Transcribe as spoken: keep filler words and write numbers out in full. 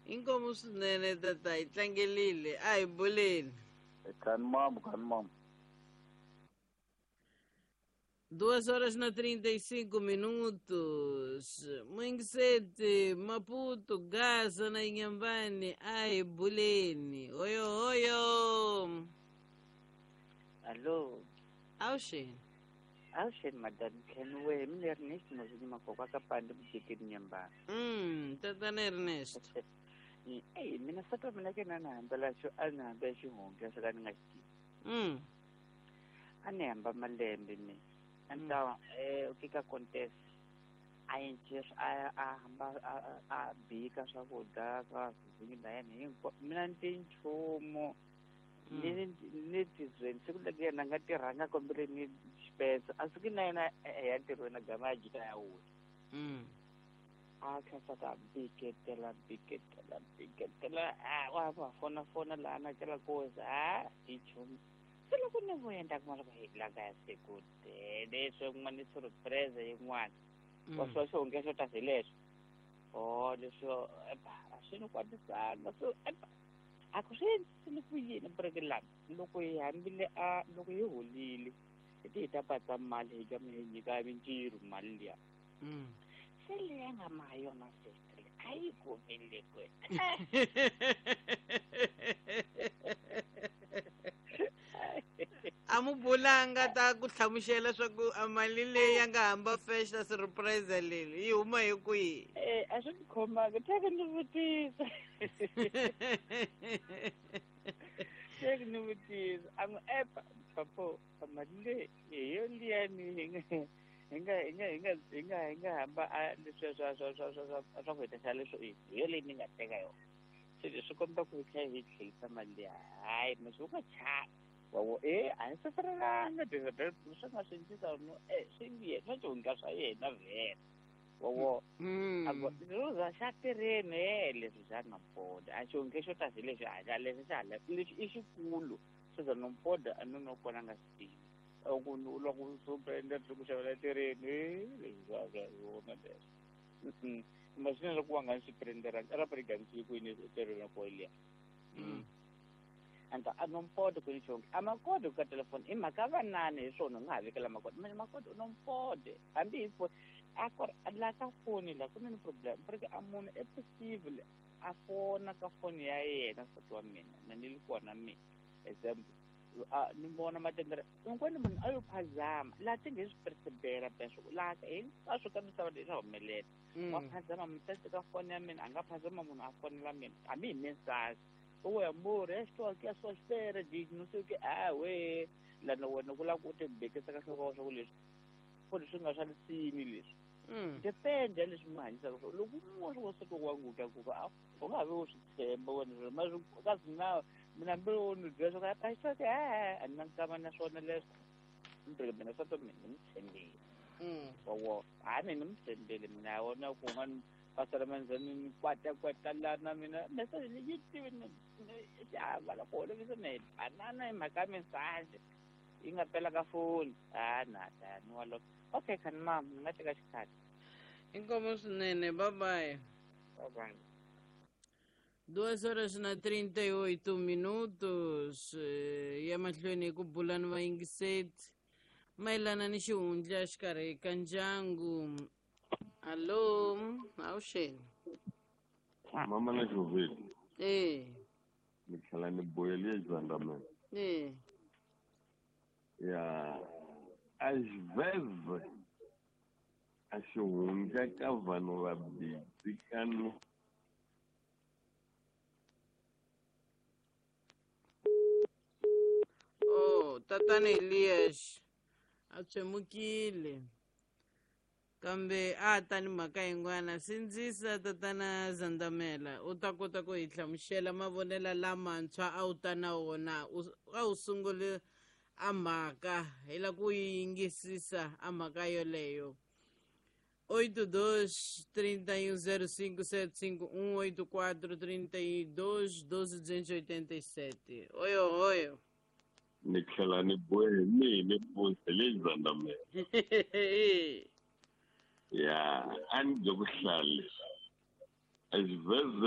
Inkomu swinene tata hi tlangelile a hi buleni. Kani mamu kani mamu. Duas horas na trinta e cinco minutos. Mwingisete, Maputo, Gaza na Inhambane, ai buleni. Oyo oyo. Alô. Auxen. Auxen, madame Kenwe, mina Ernesto mozini makoko akapanda mujekeni Inhambane. Hum, tatana Ernesto. Ei, mina sata mina ke na hambela xo a ni hambela xihundla swo ka ni nga xi tivi. Mm. A ni hamba malembe mina. Então, eh, o que que acontece? A gente a a hamba a a bika swakudya swa vizinyo la yena hinkwavo. Mina ni ti nchumu ni ni tizweni siku leti yena a nga tirhanga kombele ni xipensa a suki na yena ya ntirhweni a gama a jika ya wula. A kha ta biketela biketela biketela a wa va fona fona laha na kela koza a hi nchumu. Se loko ni vuya ni ta kuma loko hi la kaya se ku tele swin'wana surprise yin'wana. Wa swa xihundla xo ta hi leswo. Oh leswo a swi ni kwatisanga so a ku swi endlisile ku yini bureke lani loko hi hambile a loko hi holile hi ti hi ta patsa mali hi gama hi nyika mintirho mali liya. Se leyi nga ma yona sister a yi kumile kwe. A mu bulanga ta ku hlamusela swa ku a mali leyi ya nga hamba festa surprise leyi yi huma hi kwihi? Eh, a swi ni khomanga teke ni vutisa. Teke ni vutisa a n'wi epa papo mali leyi hi yo liya ni hi nga hi nga hi nga hi nga hi nga hi nga hamba a leswiya swa swa swa swa swa swa ku hetisa leswo i hi yo leyi ni nga teka yona. Se leswi komba ku hi tlhela hi tlherisa mali liya hayi masi u nga chavi. Wawo eh a hi safarelanga swi nga swi endlisa no eh swi nge swa xihundla swa yena vhele. Wawo a ku roza xa tirheni eh leswi xa Nompoda a xihundla xo ta hi leswi a xa leswi xa hala lexi i xikulu swo za Nompoda a no no kona nga swi tivi. Ku loko surprendre ku xavela tirheni leswi swa swa yona leswi. Masina loko wa nga swi prenderanga a ra pregansi kwini tirheni ko liya. Anta a Nompoda ku ni xonge a makode ka telefoni i mhaka vanani hi swona u nga ha vekela makode mina makode u Nompoda hambi hi foni a ku la ka foni la ku na ni problem porque a munhu e possible a fona ka foni ya yena nsati wa mina na ni li kona mina example a ni vona matendere un'wana munhu a yo phazama laha ti nge swi percebela peswo laha hinkwaswo ka misava leyi swa humelela wa phazama mutati ka foni ya mina a nga phazama munhu a fonela mina hambi hi mensage. Oi, amor, estou aqui à sua espera, diz, não sei o que. Ah, ué, lá no no lá ku te bekisa ka hloko swa ku leswi. Foni swi nga swa lisini leswi. Depende leswi mi hanyisaka swona. Loko munhu wa siku wa nguta ku va u nga vi u swi tshemba wena ma swi kasi na mina mbilu wo ni byela swa ku a swi eh a ni na nkama na swona leswi. Ndzi mina swa to mina ni tshembile. Wa a ni ni tshembile mina wona ku nga pastor manzani kwata kwata lana mina message leyi tivi ni xava loko holovisa na banana hi mhaka message yi nga pela ka foni a na ta ni walo okay kani mam ni nga teka xikhathi. Inkomu swinene bye bye. Bye bye. Duas horas na trinta e oito minutos ya mahlweni ku bula ni vayingiseti mayelana ni xihundla xikarhi ka ndyangu. Alô, Auxen. Mama na Jovete. Eh. Ni tlhela ni boyelie Zandamela. Eh. Ya às vezes a xihundla ka vanhu vabindzu ka no Oh, tatana Elias a tshemukile. Kambe a ta ni mhaka yin'wana sindzisa tatana Zandamela u ta kota ku hi hlamusela mavonelo lamantshwa a wu ta na wona a wu sungule a mhaka hi la ku yi yingisisa a mhaka yoleyo. Oito dois trinta e um zero cinco sete cinco um oito quatro trinta e dois doze duzentos e oitenta e sete. Oi, oi. Ni tlhela ni bohe ni ni bohe Zandamela. Ya, a ni byo ku hlale. Às vezes